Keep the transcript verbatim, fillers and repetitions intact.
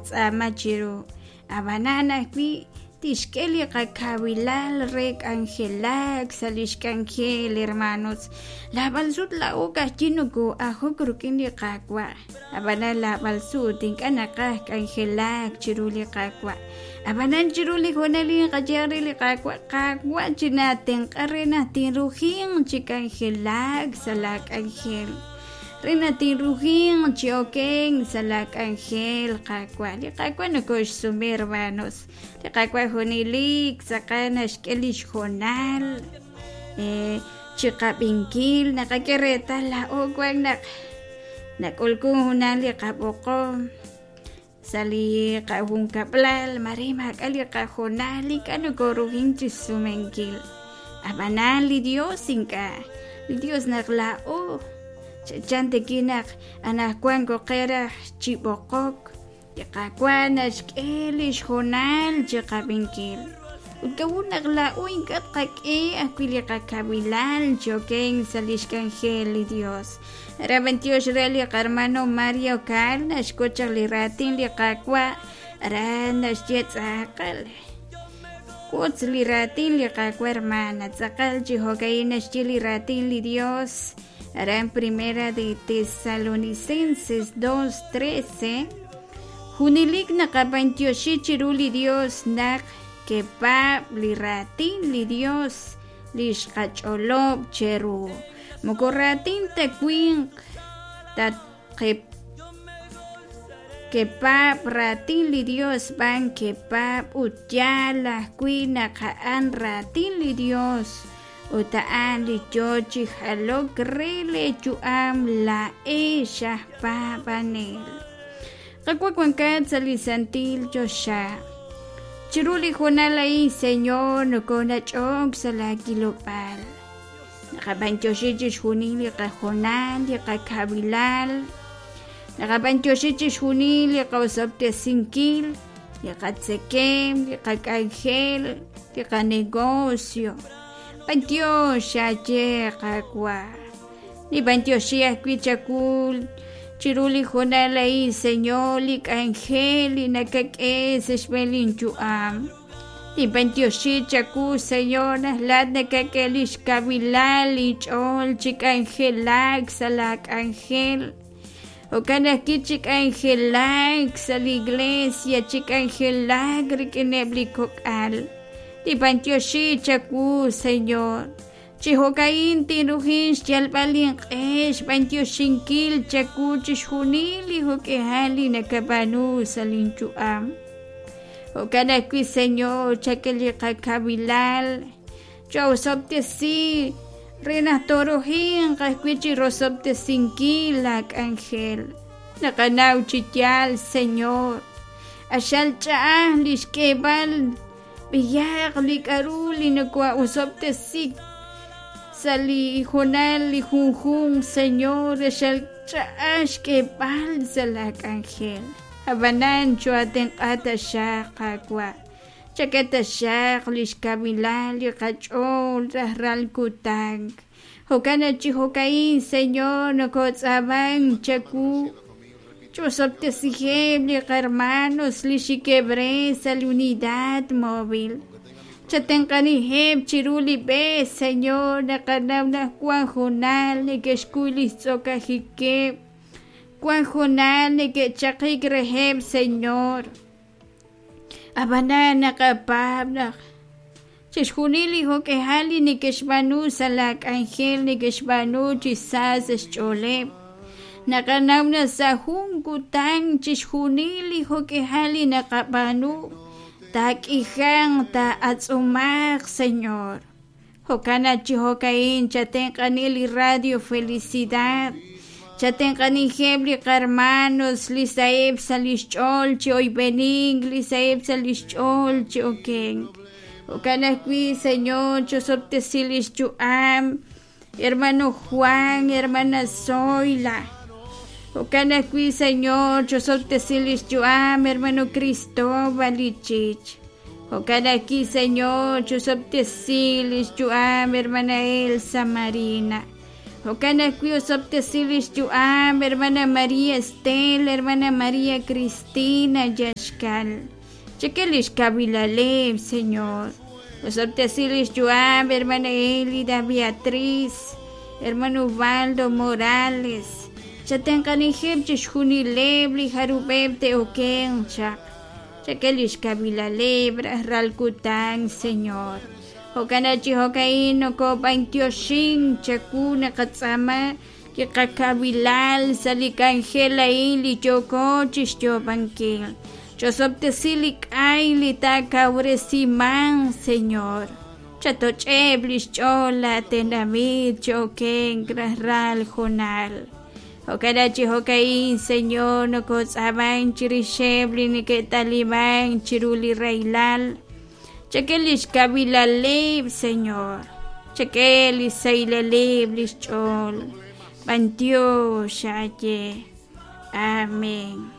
naqatz'aama chiru ab'anan ajwi' tixk'e li qakawilal re k'anjelak sa' lix k'anjel hermanos lab'al sut laa'o ka'ajwi' noko'ajok rik'in li Qaawa' ab'anan lab'al sut ink'a' naqaj k'anjelak chiru li Qaawa' ab'anan chiru li hoonal inqaye re li Qaawa' Qaawa' chinatenq'a re naq tinrujin chi k'anjelak sa' la k'anjel re naq tinrujin chi oken sa' la k'anjel Qaawa' li Qaawa' nokoxsume hermanos li Qaawa' junelik tz'aqal naxk'e lix hoonal eh, chiqab'inkil naqak'e reetal laa'o wan naq nak'ulkun junal li qab'oqom sa' li qajunkab'lal mare maak'a' li qajoonal ink'a' nokorujin chisumenkil ab'anan li Dios ink'a' li Dios naq laa'o chachan tiki naq anaqwan koqeraj chib'oqok li Qaawa' naxk'e lix hoonal chiqab'inkil ut kawun naq laa'o ink'a' tqak'e ajwi' li qakawilal chi oken sa' lix k'anjel li Dios aran tiox re li qarmano Mario Cal naxk'ut chaq li raatin li Qaawa' aran naxye tz'aqal wotz li raatin li Qaawa' hermana tz'aqal chi jo'ka'in naxye li raatin li Dios aran primera de Tesalonicenses dos trece junelik naqab'antioxi chiru li Dios naq kepaab' li raatin li Dios li xqach'olob' cheru moko raatin ta winq tat kepaab' raatin li Dios b'an kepaab' ut yaal ajwi' naq a'an raatin li Dios ut a'an li yoo chi jalok re leeyu'am laa'ex aj paab'anel Qaawa' wankat sa' li santil choxa chiru li hoonal a'in Señor nokonach'ok sa' laakilob'aal naqab'antioxi chixjunil li qahoonal li qakawilal naqab'antioxi chixjunil li qaosob'tesinkil li qatzekem li qak'anjel li qanegocio b'antiox aye Qaawa' nib'antioxi ajwi' chakul chiru li hoonal a'in Señor li k'anjel li nakak'e sa' xb'een linyu'am nib'antioxi chaku Señor naq laat nakak'e lix kawilal linch'ool chi k'anjelak sa' la k'anjel jo'kan ajwi' chi k'anjelak sa' li iglesia chi k'anjelak rik'ineb' li kok'al nib'antioxi chaku Señor chi jo'ka'in tinrujin xyalb'al linq'e xb'antioxinkil chaku chixjunil li jo'k'ejal li nakab'aanu sa' linyu'am jo'kan ajwi' Señor chak'e li qakawilal chawsob'tesi re naq torujinq ajwi' chi rosob'tesinkil la k'anjel naqanaw chi yaal Señor axal ch'a'aj li xk'eeb'al b'iyaq li k'aru li noko'osob'tesik sa' li hoonal li junjun Señor axal ch'a'aj xk'eeb'al sa' la k'anjel ab'anan choatenq'a taxaq Qaawa' chak'e taxaq li xkawilal li qach'ool rajlal kutan jo'kan chi jo'ka'in Señor nokotz'aaman chaku ch'osob'tesijeb' li qarmanos li xikeb' re sa' li unidad móvil chatenq'anijeb' chiru li b'e Señor naqanaw naq wan hoonal neke'xkuy li xtz'okajikeb' wan hoonal neke'chaqik reheb' Señor ab'anan naqapaab' naq chixjunil li jo'k'ejal li neke'xb'aanu sa' la k'anjel neke'xb'aanu chi sa sa' xch'ooleb' naqanaw naq sa' jun kutan chixjunil li jo'k'ejal li naqab'aanu taak'ijan taa'atz'umaq Señor jo'kan naq chi jo'ka'in chatenq'ani li Radio Felicidad chatenq'anijeb' li qarmanos li sa'eb' sa' lix ch'ool chi oyb'enik li sa'eb' sa' lix ch'ool chi okenk jo'kan ajwi' Señor chosob'tesi lix yu'am hermano Juan hermana Zoila jo'kan ajwi' Señor chosob'tesi lix yu'am hermano Cristóbal Ichich jo'kan ajwi' Señor chosob'tesi lix yu'am hermana Elsa Marina Jo'kan ajwi' osob'tesi lix yu'am hermana María Estela, hermana María Cristina Yaxkal. Chak'e lix kawilaleb, Señor. Osob'tesi lix yu'am hermana Elida Beatriz, hermano Ubaldo Morales. Chatenq'anijeb' chixjunileb' li jarub'eb' te'okenq chaq. Chak'e lix kawilaleb' rajlal kutan, Señor. Jo'kan chi jo'ka'in nokob'antioxin chawu naqatz'aama li qakawilal sa' li k'anjel a'in li yooko chixyoob'ankil. Chosob'tesi li k'ay li taakawresiman, Señor. Chatoch'eb' lix ch'ool laatenamit cho'okenk rajlal junal. Jo'kan chi jo'ka'in, Señor, nokotz'aaman chirixeb' li neke'taliman chiru li rahilal. Chak'e lix kawilaleb', Señor. Chak'e li saylaleb' lix ch'ool. B'antiox xaye. Amén.